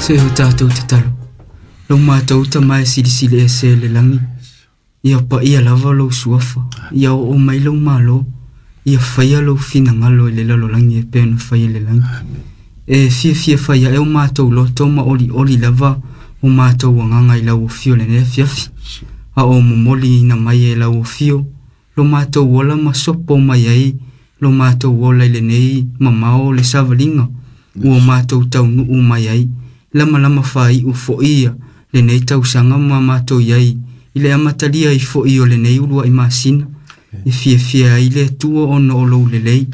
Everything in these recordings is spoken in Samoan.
Se o tātou tatalo. Lo mātou ta mai silisili e se le langi. Ia pa ia lava lou suafa. Ia o mai lou malo. Ia whaia lou finangalo i le lalolagi e pea na whaia le langi. E fia fia whaia e o mātou loto ma oli oli lava o mātou wanganga i lau afio le nea fiafi. A o momoli ina mai e lau afio. Lo mātou ola ma sopo mai ai. Lo mātou ola i le nei mamao le savalinga. Ua mātou tau nuu mai ai. Lama lama whai u foia le nei tausanga ma mātou iai. I le amatalia i fo'i o le nei ulua i masina. E fia fia ai le tua ona o lou lelei.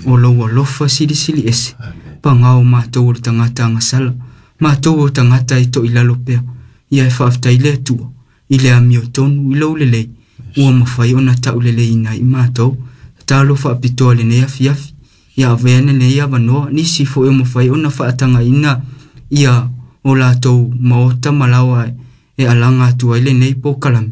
O lou alofa silisili ese. Pangao mātou o le tangata angasala. Mātou o tangata i to i lalo pea. Ia e whaaftai le tua. I le amio tonu i lou lelei. Ua mawhai ona tau lelei ina i mātou. Talo whaapitoa le nei afiafi. Ia aveane nei avanoa. Nisi fo e mawhai ona whaatanga ina. Ia o lātou maota malawa e alanga atu ai le nei pōkalame.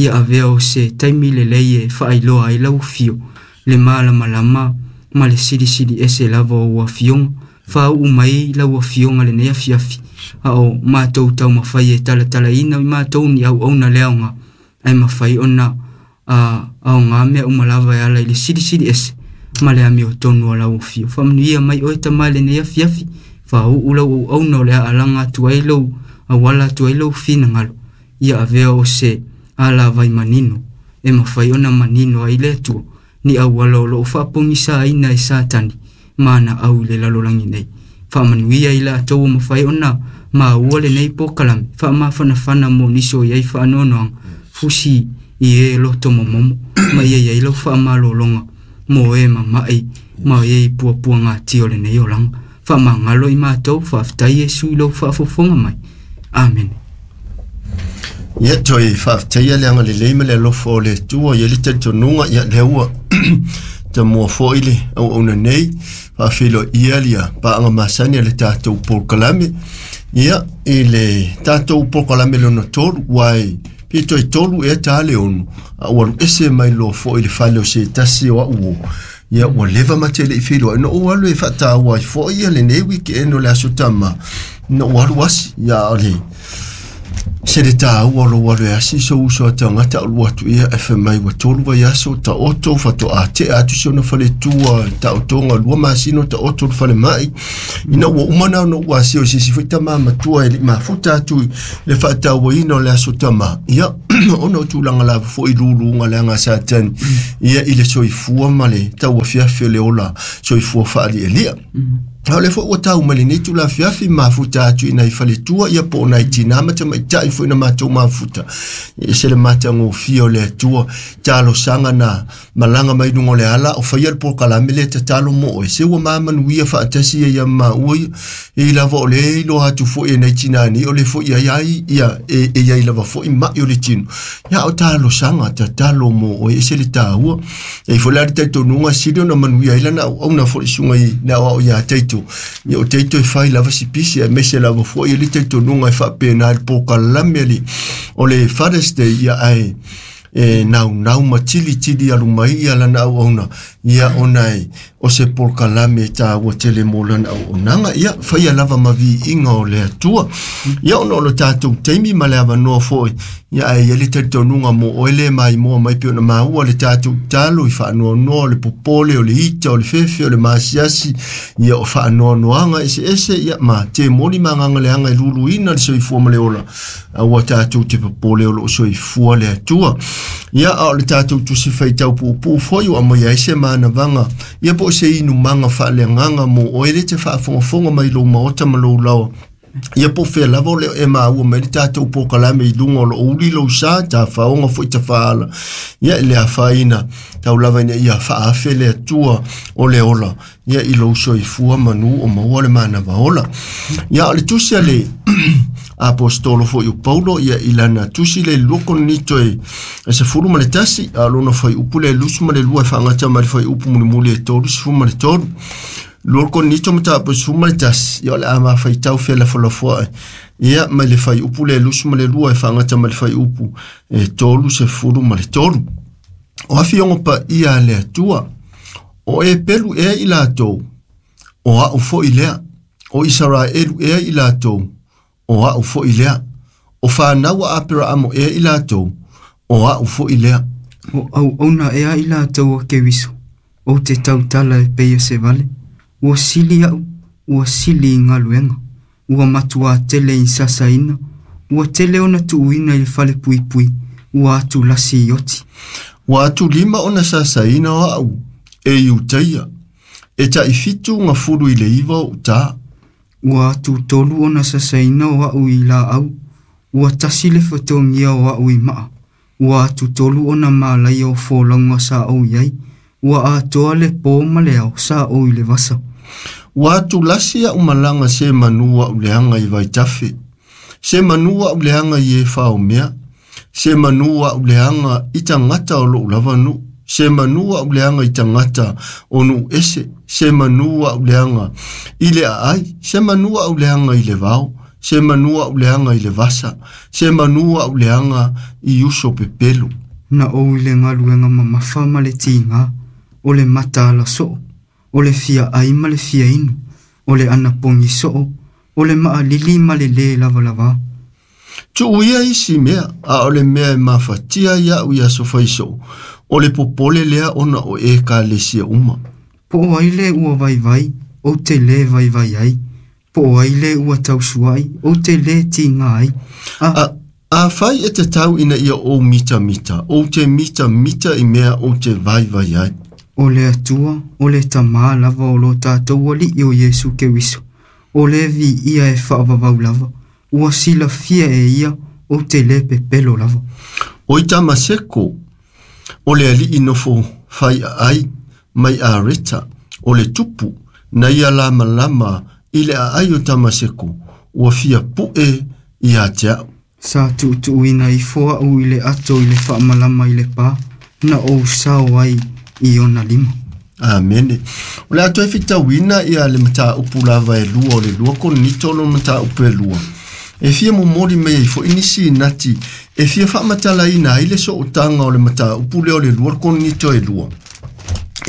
Ia avea o se taimi lelei e whaailoa ai lau fio. Le malamalama ma le silisili ese lava o ua fionga. Whaau mai lau afionga le nei afiafi. A o mātou tau mawhai e talatala ina i mātou ni au auna leaonga. Ai mawhai ona a o ngā mea umalava e ala i le silisili ese. Ma le ami o tonu a lau afio. Whaamanuia mai oe ta mai le nei afiafi. Whaau lau au auna o le alanga atu ai lau awala atu ai lau finangalo. Ia avea o se ala vai manino. E mawhai ona manino ai le atua. Ni awala o loo whaapongisa aina e satani. Mana au i le lalolangi nei. Whaamanuia i la atou o mawhai ona maua le nei pōkalame. Whaamawhanawhana mō niso i ai whaanoanoanga. Fusi i e loto momomo. Ma ia iai lau whaamalolonga. Mō e mamai. Ma e i puapua ngā tio le nei olanga. Whaamangalo i mātou. Whaaftai e sui lau whaafofonga mai. Amen. Ia toi whaaftaia le anga le leima le alofa o le tua ia le talitonuga ia le ua ta mua fo'i le auauna nei faafeiloa ia lia paaga masani a le tatou polokalame ia i le tatou polokalame lona tolu uae pe toe tolu ea tā le ono a ua aluese mai loa fo'i le fale o se tasi o a'u o ia ua leva matele'i feiloai na ou alu e faataua ai fo'i ia lenei wikeeno le aso tama na ou alu asi ia o le se le tāua lo alu e asi so uso a tangata o lua atu ia e whai mai ua tolu vai aso ta oto whato a te atu si ona whale tua ta otonga lua masino ta oto le whale mai ina ua umana ona ua asi o sisi fai tama matua e li mafuta atu i le whaataua ina o le aso tama ia ona o tūlanga lava fo'i luluga le aga Satani ia i le soifua ma le tauafiafi o le ola soifua faalialia. A o le fo'i ua tau mai lenei tulafiafi mafuta atu ina i faletua ia po o nai tinā ma tamaitai fo'i na matou mafuta e ese le matagofie o le Atua talosaga na malaga mai luga o le ala o faia le polokalame lea tatalo mo oe se ua mamanuia faatasi ia ia maua ia e lava o le iloa atu fo'i e nai tinā nei o le fo'i ai ai ia e iai lava fo'i ma'i o le tino ia o talosaga tatalo mo oe ese le tāua e foi la le talitonuga sili ona manuia ai lana auauna fo'i suga i le aoao iā Taito ia o Taito e fai lava sipisi ae maise lava fo'i e le talitonuga e faapena i le polokalame ali o le Father's Day ia ae e naunau ma tilitili alu mai ia lana auauna ia ona e o se polokalame e tāua tele mo lana auaunaga ia faia lava ma viiga o le Atua ia ona o lo tatou taimi ma le avanoa fo'i ia ae ia le talitonuga mo oe le maimoa mai pe ona maua le tatou talo i faanoanoa o le popole o le ita o le fefe o le masiasi ia o faanoanoaga eseese ia ma temoli ma agaga leaga e luluina le soifua ma le ola aua tatou te popole o loo soifua le Atua ia a o le tatou tusi faitau puupuu foi ua aumaia ai se manavaga ia po o se inumaga faaleagaga mo oe le te faafogafoga mai lou maota ma lou laoa ia po fea lava o le e maua mai le tatou polokalame i luga o loo uli lou sa tafaoga fo'i tafaala ia e le afaina tau lava ina ia faaafe le Atua o le ola ia i lou soifua manu o maua le manava ola ia o le tusi a le apostolo fo'i o Paulo ia i lana tusi le lua Korinito e 11 a lona fuaiupu le 22 e faagata mai le fuaiupu mulimuli e 33. Lua Korinito mataupu 11 ia o le a mafaitau felafolafoa'i ia mai le fuaiupu le 22 e faagata mai le fuaiupu e 33. O afioga paia a le Atua o e pelu ea i latou o a'u fo'i lea o Isaraelu ea i latou o a'u fo'i lea. O fanau a Aperaamo ea i latou, o a'u fo'i lea. O auauna ea i latou a Keriso, ou te tautala e pei o se vale. Ua sili a'u, ua sili i galuega. Ua matuā tele i sasaina, ua tele ona tuuina i le fale puipui, ua atulasi i oti. Ua atulima ona sasaina o a'u e Iutaia, e ta'ifitu gafulu i le 9 o'u tā. Ua atutolu ona sasaina o a'u i laau, ua tasi le fetogia o a'u i maa. Ua atutolu ona malaia o folauga sa ou i ai, ua atoa le pō ma le ao sa ou i le vasa. Ua atulasi a'u malaga se manu a'u leaga i vaitafe, se manu a'u leaga i e faomea, se manu a'u leaga i tagata o lo'u lava nu'u, se manu a'u leaga i tagata o nu'u ese, se manu a'u leaga i le a'ai, se manu a'u leaga i le vao, se manu a'u leaga i le vasa, se manu a'u leaga i uso pepelu. Na ou i le galuega mamafa ma le tigā, o le mataala so'o, o le fia ai ma le fia inu, o le anapogi so'o, o le ma'alili ma le lē lavalavā. Tu'u ia isi mea, a o le mea e mafatia ia'u i aso faiso'o, o le popole lea ona o ekalesia uma. Po o ai lē ua vaivai, ou te lē vaivai ai. Po o ai lē ua tausua'i, ou te lē tigā ai. A fai e te tau ina ia ou mitamita, ou te mitamita i mea ou te vaivai ai. O le Atua, o le Tamā lava o lo tatou Ali'i o Iesu Keriso, o le viia e fa'avavau lava, ua silafia e ia ou te lē pepelo lava. O i Tamaseko, o le ali'i nofo fai a'ai mai Areta, o le tupu, na ia lamalama i le a'ai o Tamaseko, ua fia pu'e ia te a'u. Sa tu'utu'uina ifo a'u i le ato i le fa'amalama i le pā, na ou sao ai i ona lima. Amene. O le ato e fitauina ia le matāupu lava e lua o le 2 Korinito lo matāupu e 2. E fia momoli mai ai fo'i nisi nati, e fia fa'amatalaina ai le so'otaga o le matāupu lea o le 2 Korinito e 2.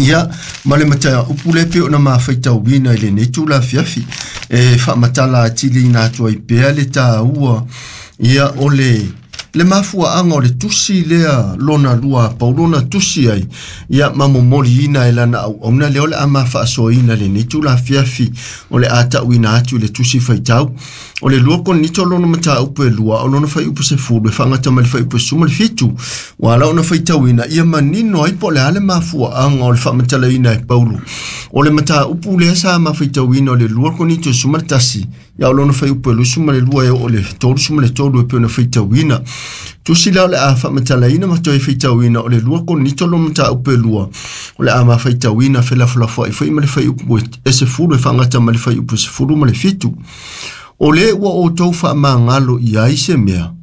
Ia, ma le matāupu le pe ona mafaitauina i lenei tulafiafi, e fa'amatala atiliina atu ai pea le tāua, ia o le mafua'aga o le tusi lea lona lua a Paulo na tusi ai, ia ma momoliina e lana auauna lea o le a mafa'asoaina lenei tulafiafi o le a ta'uina atu i le tusi faitau. O le 2 Korinito lona matāupu e 2, o lona faiupu 10, e fa'agata mai le faiupu 17, ua ala ona faitauina ia manino ai po o le a le mafua'aga o le fa'amatalaina e Paulo. O le matāupu lea sa mafaitauina o le 2 Korinito 11, ia o lona faiupu e 22 e oo le 33 e pei ona faitauina. Tusi lea o le a fa'amatalaina ma toe faitauina o le 2 Korinito lona matāupu e 2, o le a mafaitauina felafolafoa'i fo'i ma le faiupu e 10 e fa'agata ma le faiupu 17. O le ua outou fa'amagalo i ai se mea,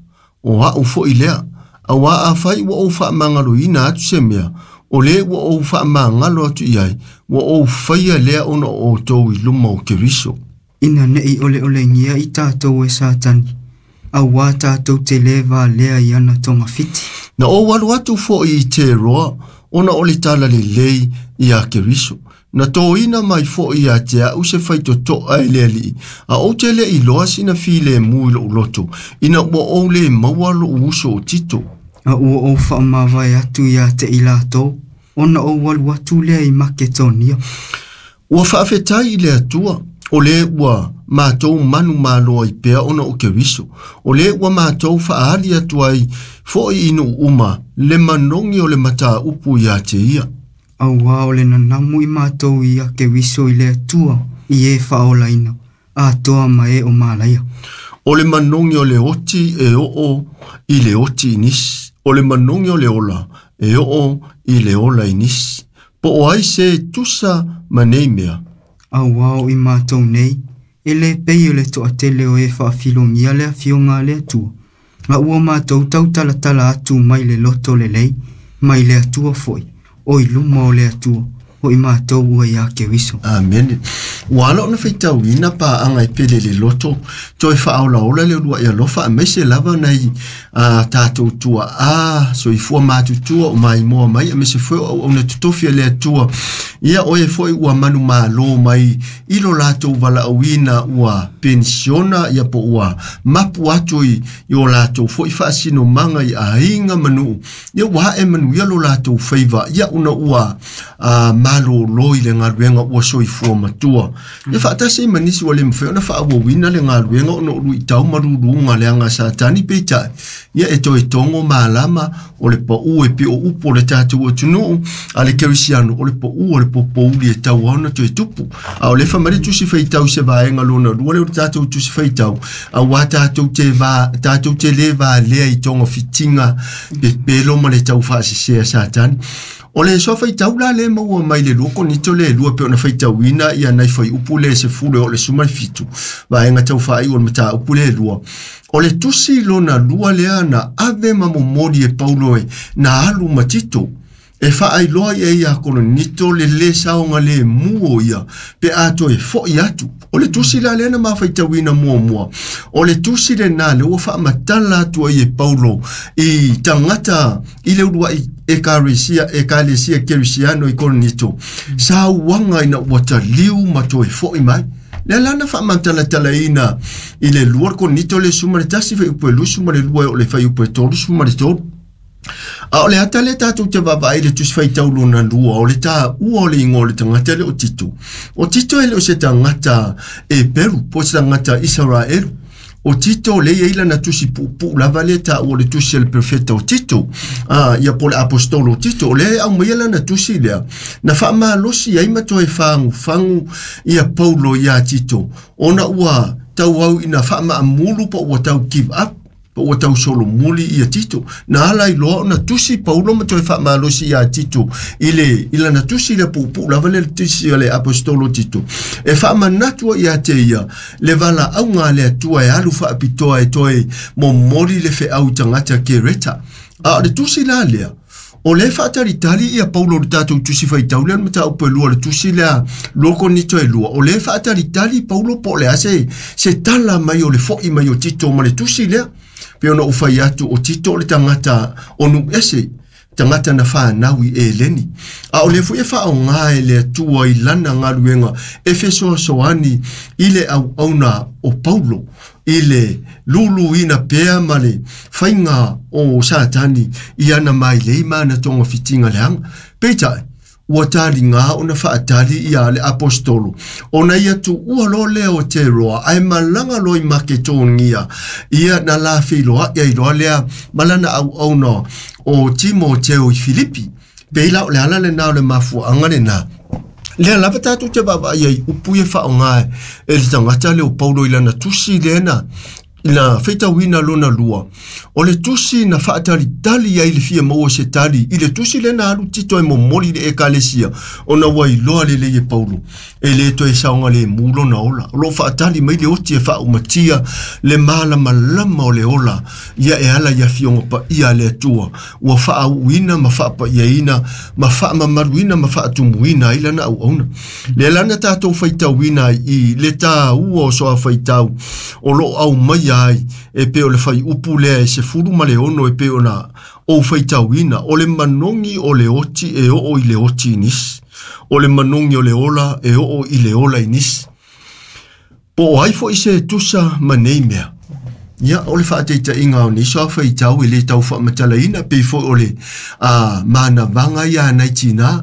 o a'u fo'i lea, auā afai ua ou fa'amagaloina atu se mea, o le ua ou fa'amagalo atu i ai, ua ou faia lea ona o outou i luma o Keriso. Ina ne'i oleolegia i tatou e Satani, auā tatou te lē valea i ana togafiti. Na ou alu atu fo'i i Teroa, ona o le tala lelei iā Keriso. Na tōina mai fo'i ia te a'u se faitoto'a e le ali'i, a ou te le'i loa sina filemu i lo'u loto, ina ua ou lē maua lo'u uso o Tito. A ua ou fa'amavae atu iā te i latou, ona ou alu atu lea i Maketonia. Ua fa'afetai i le Atua, o lē ua matou manu maloa i pea ona o Keriso, o lē ua matou fa'aali atu ai fo'i i nu'u uma le manogi o le matāupu iā te ia. Auā o le nanamu i matou ia Keriso i le Atua i e fa'aolaina, atoa ma e o malaia. O le manogi o le oti e o'o i le oti i nisi, o le manogi o le ola e o'o i le ola i nisi. Po o ai se tusa ma nei mea. Auā o i matou nei, e lē pei o le to'atele o e fa'afilogia le afioga a le Atua. A ua matou tautalatala atu mai le loto lelei, mai le Atua fo'i, o i luma o le Atua, o i matou ua iā Keriso. Amene. Ua ala ona faitauina paaga e pele i le loto, toe faaolaola le uluai alofa aemaise lava nai tatou tuaa soifua matutua o maimoa mai aemaise foi o auauna totofi a le Atua. Ia o e foi ua manumalo mai i lo latou valaauina ua penisiona ia po ua mapu atu i o latou foi faasinomaga i aiga ma nuu. Ia ua ae manuia lo latou faiva ia ona ua malolo i le galuega ua soifua matua. Ia faatasi ai ma nisi ua le mafai ona faaauauina le galuega ona o luitau ma luluga leaga a Satani peitai. Ia e toe togo malama o le pau e pei o upu o le tatou atunuu a le kerisiano o le pau o le popouli e tau ona toe tupu. A o le fai mai le tusi faitau se vaega lona lua lea o le tatou tusi faitau, auā tatou te le valea i togafitiga pepelo ma le taufaasese a Satani. O le soa faitau la le maua mai le 2 Korinito le 2 pe ona faitauina ia nai fuaiupu le 10 o le 17 vaega tau faaiu o le mataupu le 2. O le tusi lona lua lea na ave ma momoli e Paulo e na alu ma Tito e faailoa i ai ia Korinito le lē saoga lemu o ia pe a toe fo'i atu. O le tusi la lea na mafaitauina muamua. O le tusi lenā le ua faamatala atu ai e Paulo i tagata i le uluai ekalesia kerisiano i Korinito sauaga ina ua taliu ma toe fo'i mai. Lea la na faamatalatalaina i le 2 Korinito le 11 fuaiupu e 22 o le fuaiupu e 33. A o le ata le tatou te vaavaai i le tusi faitau lona lua o le taua o le igoa o le tagata lea o Tito. O Tito e le o se tagata Eperu po o se tagata Isaraelu. O Tito le ia i lana tusi puupuu lava lea taua o le tusi a le perofeta o Tito, ia po o le apostolo o Tito. O lea e aumaia lana tusi lea na faamalosi ai ma toe fagufagu ia Paulo iā Tito ona ua tauau ina faamaamulu po ua tau give up po ua tau solomuli ia Tito. Na ala i loa ona tusi Paulo ma toe faamalosi iā Tito i lana tusi lea puupuu lava lea le tusi a le apostolo Tito. E faamanatu ai ia te ia le valaauga a le Atua e alu faapitoa e toe momoli le feau i tagata Kereta. A o le tusi la lea, o le faatalitali ia Paulo le tatou tusi faitau lea le mataupu e 2 le tusi lea 2 Korinito e 2. O le faatalitali Paulo po o le a se tala mai o le fo'i mai o Tito ma le tusi lea. Pe ona ou fai atu o Tito o le tagata o nu'u ese, tagata na fanau i Eleni. A o le foi e faaogā e le Atua i lana galuega e fesoasoani i le auauna o Paulo i le luluina pea ma le faiga o Satani i ana mailei ma ana togafitiga leaga. Peitai, ua taligā ona faatali ia le apostolo ona ia tuua loa lea o Teroa ae malaga loa i Maketonia ia na lafeiloa'i ai loa lea ma lana auauna o Timoteo i Filipi. Pei la o le ala lenā o le mafuaaga lenā. Lea lava tatou te vaavaai ai upu ia faaaogā e le tagata lea o Paulo i lana tusi lea na faitauina lona lua. O le tusi na faatalitali ai le fia maua se tali i le tusi lea na alu Tito e momoli i le ekalesia ona ua iloa lelei e Paulo e le toe saoga lemu lona ola. O loo faatali mai le oti e faaumatia le malamalama o le ola ia e ala i afioga paia a le Atua ua faauuina ma faapaiaina ma faamamaluina ma faatumuina ai lana auauna. Lea lana tatou faitauina i le taua o soa faitau o loo aumaia ai e pei o le fuaiupu lea e 16 e pei ona ou faitauina o le manogi o le oti e oo i le oti i nisi. O le manogi o le ola e oo i le ola i nisi. Po o ai foi se tusa ma nei mea. Ia o le faataitaiga o nei soa faitau e le tau faamatalaina pei foi o le manavaga ia nai tinā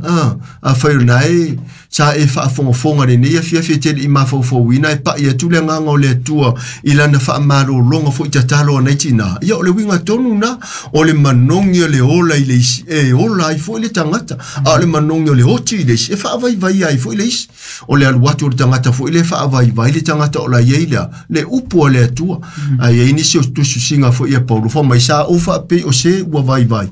afai o nae sa e faafogafoga lenei afiafi e tele i mafaufauina e pa'i atu le agaga o le Atua i lana faamalologa foi tatalo a nai tinā. Ia o le uiga tonu na o le manogi o le ola i le isi e ola ai foi le tagata, a o le manogi o le oti i le isi e faavaivaia ai foi le isi. O le alu atu o le tagata foi le faavaivai le tagata o la iai lea le upu a le Atua. Ae iai nisi o tusitusiga foi ia Paulo fa mai sa ou faapei o se ua vaivai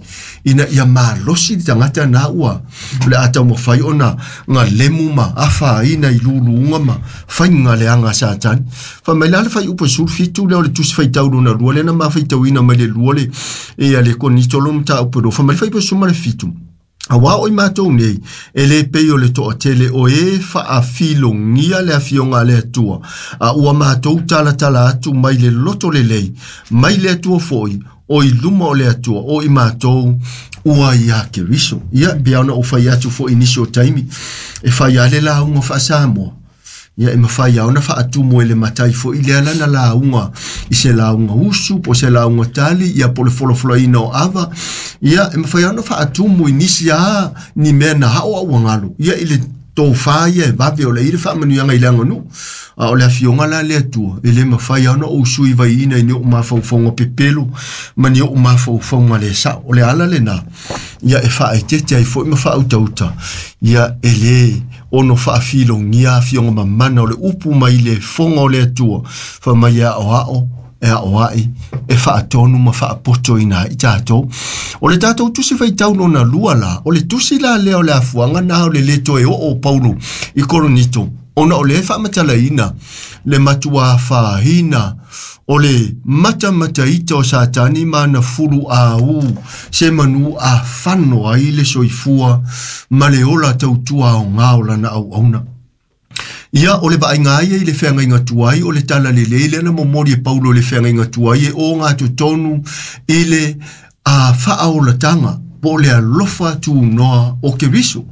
ina ia malosi le tagata na ua o le a taumafai ona galemu ma afaina i luluga ma faiga leaga a Satani. Fai mai la le fuaiupu e 17 lea o le tusi faitau lona lua lea na mafaitauina mai le lua le ia le Korinito lona mataupu e 2. Fai mai le fuaiupu e 17. Auā o i matou nei, e lē pei o le toʻatele o ē faʻafilogia le afioga a le Atua, a ua matou talatala atu mai le loto lelei, mai le Atua foʻi, o i luma o le Atua, o i matou ua iā Keriso. Ia, e pei lava ona ou fai atu foʻi i nisi o taimi, e fai lava le lauga faa-Samoa. Ia e mafai lava ona faatumu e le matai foi lea lana lauga i se lauga usu po o se lauga tali, ia po o le folafolaina o ava. Ia e mafai lava ona faatumu i nisi a ni mea na ao a ua galo. Ia i le tofa ia e vave o le i le faamanuiaga i le aganuu. A o le afioga la le Atua, e le mafai lava ona ou sui vaiina i ni ou mafaufauga pepelo ma ni ou mafaufauga le sao. O le ala lena, ia e faaeteete ai foi ma faautauta, ia e le ono faafilogia afioga mamana o le upu mai le foga o le Atua, fai mai e aoao, e aoai, e faatonu ma faapotoina ai tatou. O le tatou tusi faitau lona lua la, o le tusi la lea o le afuaga na o le lē toe oo o Paulo i Korinito, ona o lea e faamatalaina le matuā fāina o le matamataita o Satani ma ana fulu āū se manū afano ai le soifua ma le ola tautua aogā o lana auauna. Ia, o le vaaiga ia i le feagaiga tuai, o le tala lelei lea na momoli e Paulo i le feagaiga tuai e ogatotonu i le faaolataga po o le alofa tunoa o Keriso.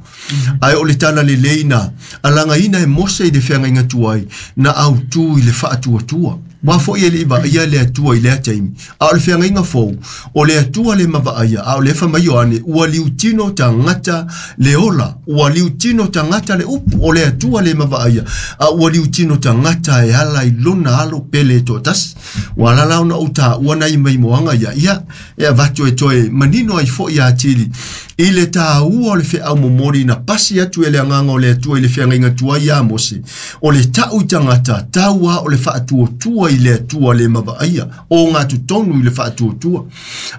Ae o le tala lelei na alagaina e Mose i le feagaiga tuai na autū i le faatuatua. Ua foʻi e leʻi vaaia le Atua i lea taimi. A o le feagaiga fou, o le Atua le mavaaia, a o le fai mai Ioane, ua liutino tagata le ola, ua liutino tagata le upu, o le Atua le mavaaia, a ua liutino tagata e ala i lona alo pele e toatasi. Ua ala la ona ou taua nai maimoaga ia, ia, e avatu e toe manino ai foʻi atili i le tāua o le feʻau momoli na pasi atu e le agaga o le Atua i le feagaiga tuai iā Mose, o le taʻu i tagata, tau a o le faatuatua i le Atua le mavaaia, o gatotonu i le faatuatua.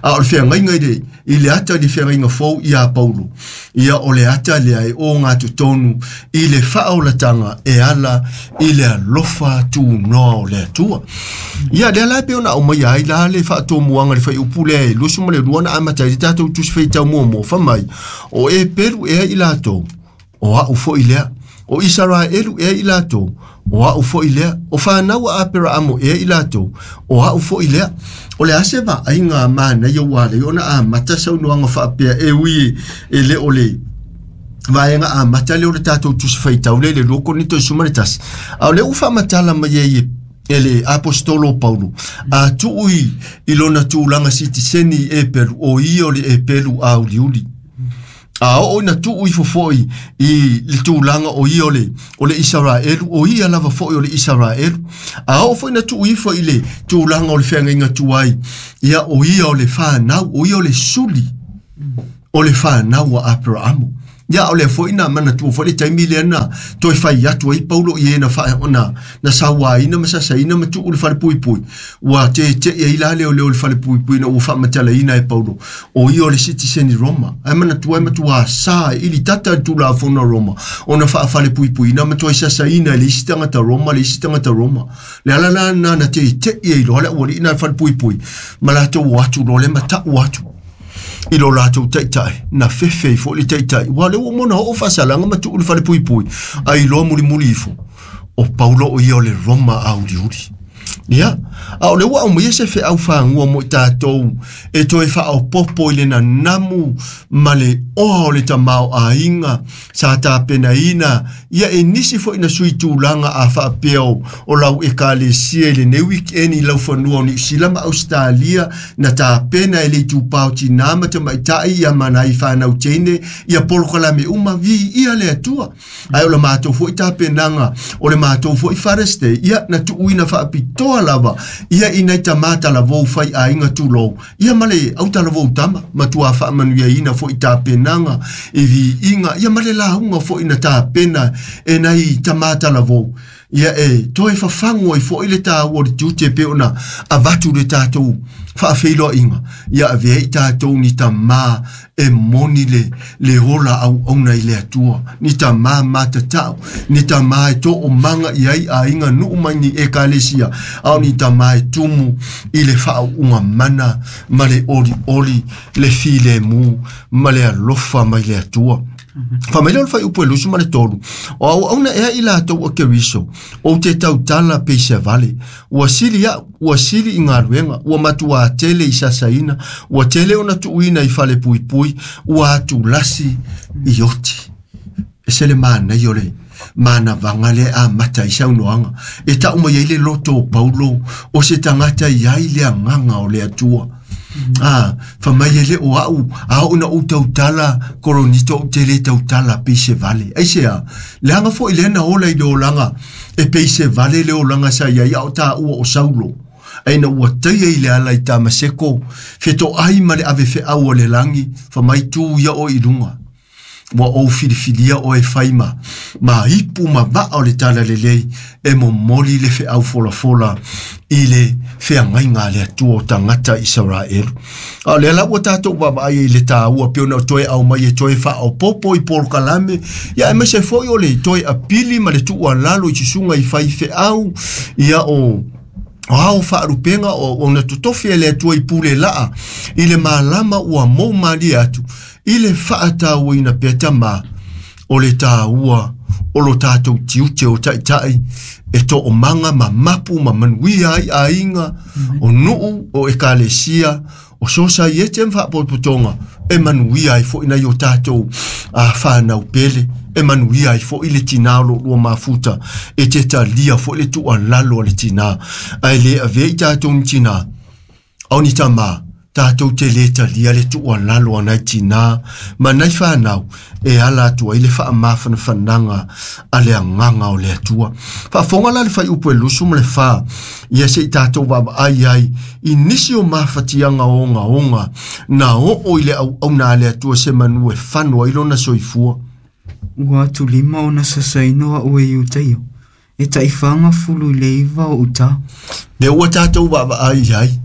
A o le feagaiga i le, i le ata i le feagaiga fou iā Paulo, ia o le ata lea e o gatotonu i le faaolataga e ala i le alofa tunoa o le Atua. Ia lea la e pei ona aumaia ai la le faatomuaga i le fuaiupu lea e 22 na amata ai le tatou tusi faitau muamua, fai mai, o Eperu ea i latou, o aʻu foʻi lea. O Isaraelu ea i latou, o aʻu foʻi lea. O fanau a Aperaamo ea i latou, o aʻu foʻi lea. O le a se vaaiga manaia ua ala ai ona amata saunoaga faapea e ui e le o le vaega amata lea o le tatou tusi faitau lea i le 2 Korinito 11. A o lea ua faamatala mai ai e le aposetolo o Paulo, a tuu i lona tulaga sitiseni i Eperu, o ia o le Eperu auliuli. A oo ina tuu ifo foʻi i le tulaga o ia o le, o le Isaraelu, o ia lava foʻi o le Isaraelu. A oo foi ina tuu ifo i le tulaga o le feagaiga tuai, ia o ia o le fanau, o ia o le suli o le fanau a Aperaamo. Ia o lea foi na manatua foi le taimi lea na toe fai atu ai Paulo i e na, fa, na, na sauaina ma sasaina ma tuu le falepuipui. Ua teteʻi ai la leoleo i le falepuipui ina ua faamatalaina e Paulo, o ia o le sitiseni Roma. Ae manatua e matuā sa e ili tata le Tulafono a Roma ona faafalepuipuiina ma toe sasaina e le isi tagata Roma le isi tagata Roma. Le ala la lena na teteʻi ai loa le aualii na i le falepuipui ma latou o atu loa lea ma taʻu atu i lo latou taitai, na fefe ai foi le taitai. Ua lea ua uma ona oo faasalaga ma tuu i le falepuipui, a iloa mulimuli ifo, o Paulo o ia o le Roma auliuli. Ia, a o lea ua aumaia se feau fagua mo i tatou e toe faaopoopo i le nanamu ma le oa o le tamaoaiga sa tapenaina ia e nisi foi na sui tulaga a faapea o lau ekalesia i lenei weekend i laufanua o Niu Sila ma Ausetalia na tapena e le itupa o tinā ma tamaitai ia ma nai fanau teine ia polokalame uma viia le Atua. Ae o le matou foi tapenaga o le matou foi Father's Day ia na tuuina faapitoa lava ia i nai tamā talavou fai aiga tulou ia ma le au talavou tama matua faamanuiaina foi tapenaga i viiga ia ma le lauga foi na tapena e nai tamā talavou. Ia e toe fafagu ai foʻi le tāua o le tiute e pei ona avatu le tatou faafeiloaiga. Ia avea i tatou ni tamā e moni le ola auauna i le Atua, ni tamā matatau, ni tamā e toomaga i ai aiga nuu mai ni ekalesia, a o ni tamā e tumu i le faauuga mana ma le olioli, le filemu ma le alofa mai le Atua. Fai mai le o le fuaiupu e 23, o auauna ea i latou o Keriso, ou te tautala peisa vale, ua sili au, ua sili i galuega, ua matuā tele i sasaina, ua tele ona tuuina i fale puipui, ua atulasi i oti. E se le manaia o le manavaga lea amata ai saunoaga. E tau mai ai le loto o Paulo, o se tagata i ai le agaga o le Atua. Fai mai e le o au, a oo ina ou tautala, Koronito ou te le tautala pei se vale. Ai se a, leaga foi lea na ola i le olaga, e pei se vale le olaga sa iai a o tāua o Saulo. Ae ina ua taia i le ala i Tamaseko, fetoai ma le ave feau o le lagi, fai mai tu ia o i luga. Ua ou filifilia o e fai ma ipu ma vaa o le tala lelei, e momoli le feau folafola i le feagaiga a le Atua o tagata Isaraelu. A o lea la ua tatou vaavaai i le tāua pei ona toe aumai e toe faaopoopo i polokalame, ia aemaise foi o le toe apili ma le tuualalo i susuga i faifeau, ia o ao faalupega o ona totofi e le Atua i pule laa i le malama ua mou malie atu i le faatauaina pea tamā o le tāua o lo tatou tiute o taitai e toomaga ma mapu ma manuia ai aiga o nuu o ekalesia o sosaiete ma faapotopotoga e manuia ai foʻi nai o tatou fanau pele e manuia ai foʻi le tinā o loolua mafuta e te talia foʻi le tuualalo a le tinā ae le avea i tatou ni tinā ao ni tamā tatou te lē talia le tuualalo a nai tinā ma nai fanau e ala atu ai le faamafanafanaga a le agaga o le Atua. Faafofoga la le fuaiupu e 24, ia se i tatou vaavaai ai i nisi o mafatiaga ogaoga na oo i le auauna a le Atua se manu e fano ai lona soifua. Ua atulima ona sasaina o a'u e Iutaia, e 49 o'u tā. Le ua tatou vaavaai ai.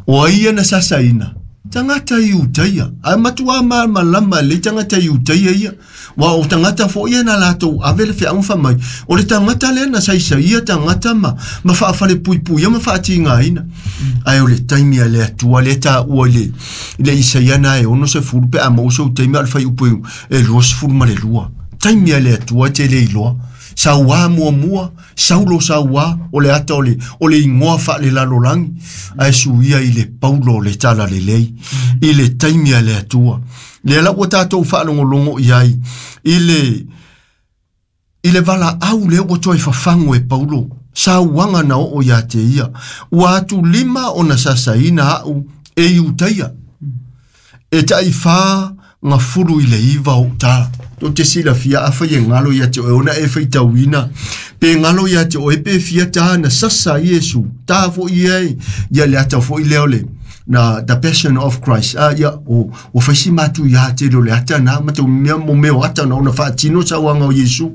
O ai ia na sasaina? Tagata i Utaia. Ae matuā malamalama lelei tagata i Utaia ia. Ua o tagata foʻi ia na latou ave le feauga fai mai. O le tagata lea na saisaia tagata ma faafalepuipuia ma faatigaina. Ae o le taimi a le Atua lea taua i le Isaia na e 60 pe a maua sou taimi a o le fuaiupu e 22. Taimi a le Atua e te le iloa. Sauā muamua, Saulo sauā, o le ata o le igoa faalelalolagi, ae suia i le Paulo o le tala lelei, i le taimi a le Atua. Lea la ua tatou faalogologo i ai, i le valaau lea ua toe fafagu e Paulo, sauaga na oo ia te ia, ua atu lima ona sasaina au e Iutaia. E 49 o tā. Tou te silafia afai e galo ia te oe ona e faitauina. Pe galo ia te oe pe fia tā na sasa Iesu. Tā foʻi ai. Ia le ata foʻi lea o le na The Passion of Christ. Ia o faisi matu ia te le ata na ma te mea mo meo ata na ona faatino sauaga o Iesu.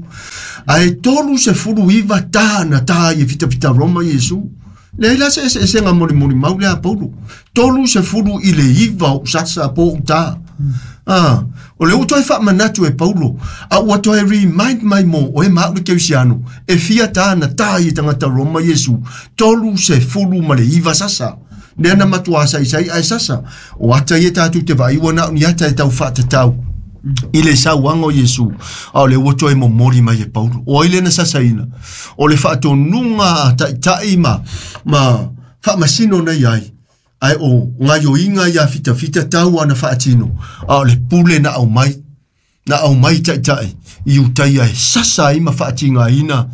Ae 39 tā na tā i fitafita Roma Iesu. Leai la se eseesega molimoli mau lea a Paulo. 39 o sasa po o tā. O le ua toe faamanatu e Paulo, a ua toe remind mai mo oe ma au le kerisiano, e fia tā na tā i tagata Roma Iesu, 39 sasa. Lea na matuā saisai ae sasa. O ata ia tatou te vaai ua na o ni ata e tau faatatau i le sauaga o Iesu, a o le ua toe momoli mai e Paulo. O ai lea na sasaina? O le faatonuga a taitai ma faamasino nei ai. Ae o gaioiga ia fitafita tau ana faatino. A o le pule na aumai. Na aumai taitai i Utaia e sasa ai ma faatigaina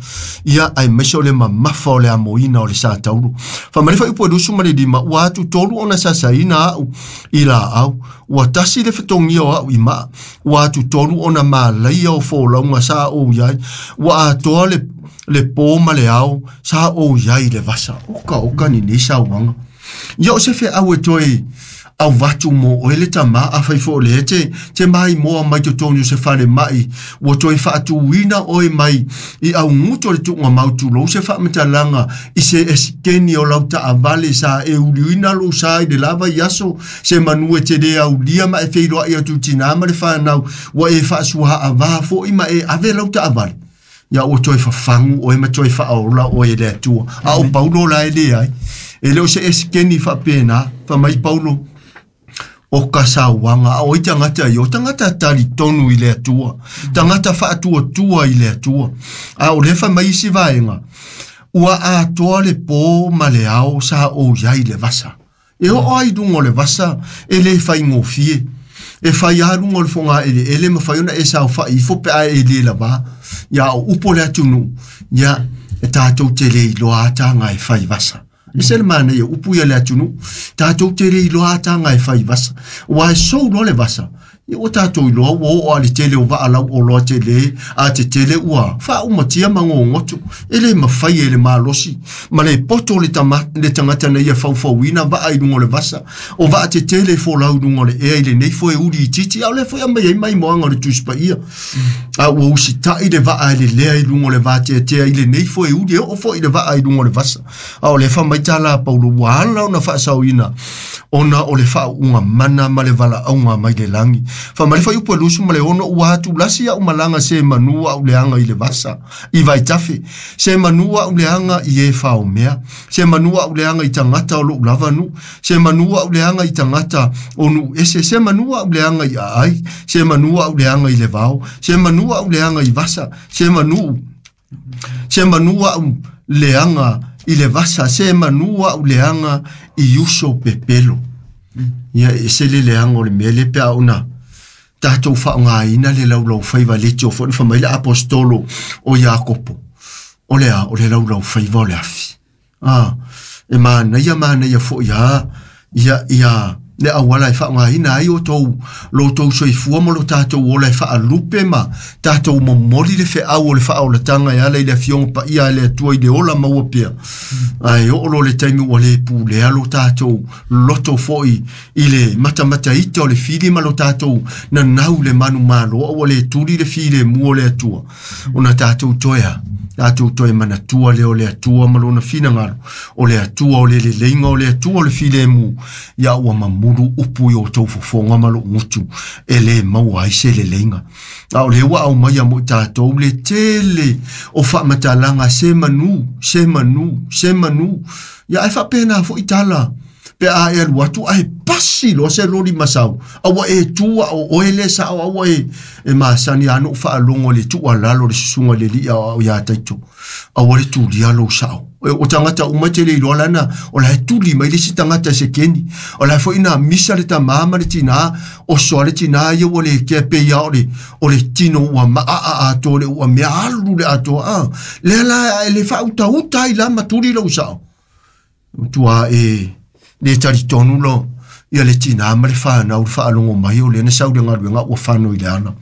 ia aemaise o le mamafa o le amoina o le sa tauro. Fai mai le fuaiupu e 25, ua atu tolu ona sasaina au i laau. Ua tasi le fetogia o au i maa. Ua atu tolu ona malaia o folauga sa ou iai. Ua atoa le pō ma le ao sa ou iai i le vasa. Oka oka ni nei sauaga. Ia o se feau e toe Avatu mo oe le tamā afai foʻi o lea te maimoa mai totonu o se falemaʻi ua toe faatuina oe mai i auguto le tuugamau tulou se faamatalaga i se esikeni o lau taavale sa e uliuina lou sa i le lava i aso se manu e te lē aulia ma e feiloaʻi atu tinā ma le fanau ua e faasuaavā foʻi ma e ave lau taavale ia ua toe fafagu oe ma toe faaola oe e le Atua. A o Paulo la e leai e le o se esikeni faapena faamai Paulo o ka sauaga a oi tagata ia o tagata talitonu i le Atua tagata faatuatua i le Atua a o lea faamai isi vaega ua atoa le pō ma le ao sa ou iai le vasa e oo ai luga o le vasa e lē faigofie e fai lava luga o le fogaeleele ma fai ona e saofaʻi ifo pe a e lē lavā ia o upu o le atunuu ia e tatou te le iloa taga e fai vasa e se le manaia upu ia le atunuu tatou te le iloa taga e fai vasa ua e sou loa le vasa ia ua tatou iloa ua oo a le tele o vaa lau oloa telē a tetele ua faaumatia ma gogoto e lē mafai e le malosi ma le poto le, tama, le tagata na ia faufauina vaa i luga o le vasa o vaa tetele e folau i luga o le ea i lenei foe uli itiiti a o lea foi aumai ai maimoaga o le Tusi Paia a ua usitaʻi le vaa e lelea i luga o le vateatea i lenei foe uli e oo foʻi le vaa i luga o le vasa a o lea faamai tala a Paulo ua ala ona faasaoina ona o le faauuga mana ma le valaauga mai le lagi faamai le fuaiupu e 26 ua atulasi aʻu malaga se manu aʻu leaga i le vasa i vaitafe se manu aʻu leaga i e faomea se manu aʻu leaga i tagata o loʻu lava nuu se manu aʻu leaga i tagata o nuu ese se manu aʻu leaga i aai se manu aʻu leaga i le vao se manu aʻu leaga i vasa se manu se manu aʻu leaga i le vasa se manu aʻu leaga i uso pepelo ia e se le leaga o le mea le pe a ona tatou faaaogāina le laulau faiva le tio foi na faamai le apostolo o Iakopo o le a o le laulau faiva o le afi a e manaia manaia foʻi a ia ia le auala e faaaogāina ai o tou lo tou soifua ma lo tatou ola e faalupe ma tatou momoli le feau o le faaolataga e ala i le afioga paia a le Atua i le ola maua pea ae oo lo le taimi ua lē pulea lo tatou loto foʻi i le matamataita o le fili ma lo tatou nanau le manumalo a ua lē tuli le filemu o le Atua ona tatou toe a tatou toe manatua lea o le Atua ma lona finagalo o le Atua o le leleiga o le Atua o le filemu ia ua mamulu upu i o tou fofoga ma lou gutu e lē maua ai se leleiga a o lea ua aumaia mo i tatou le tele o faamatalaga se manu se manu se manu ia ae faapena foʻi tala pe a e alu atu ae pasi loa se loli masau a ua e tu a o oe le sao a ua e e masani a noʻu faalogo le tuualalo le susuga le alii aoao iā Taito aua le tulia lou sao o tagata uma te le iloa lana o la e tuli mai le isi tagata e sekeni o la foi na misa le tamā ma le tinā oso a le tinā ia ua le kea pei a o le tino ua maaa atoa le ua mea alu le atoa a lea la e le faautauta ai la ma tuli lou sao tua e le talitonu lo ia le tinā ma le fanau le faalogo mai o lea na sau le galuega ua fano i le ala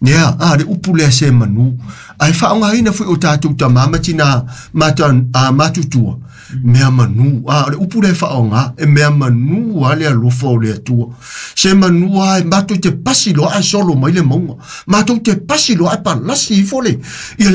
ia a le upu lea se manu ae faaaogāina foi o tatou tamā ma tinā mata a matutua mea manu a o le upu lea faaaogā e mea manu a le alofa o le Atua se manu a e matou te pasi loa ae solo mai le mauga matou te pasi loa ae palasi ifo le ia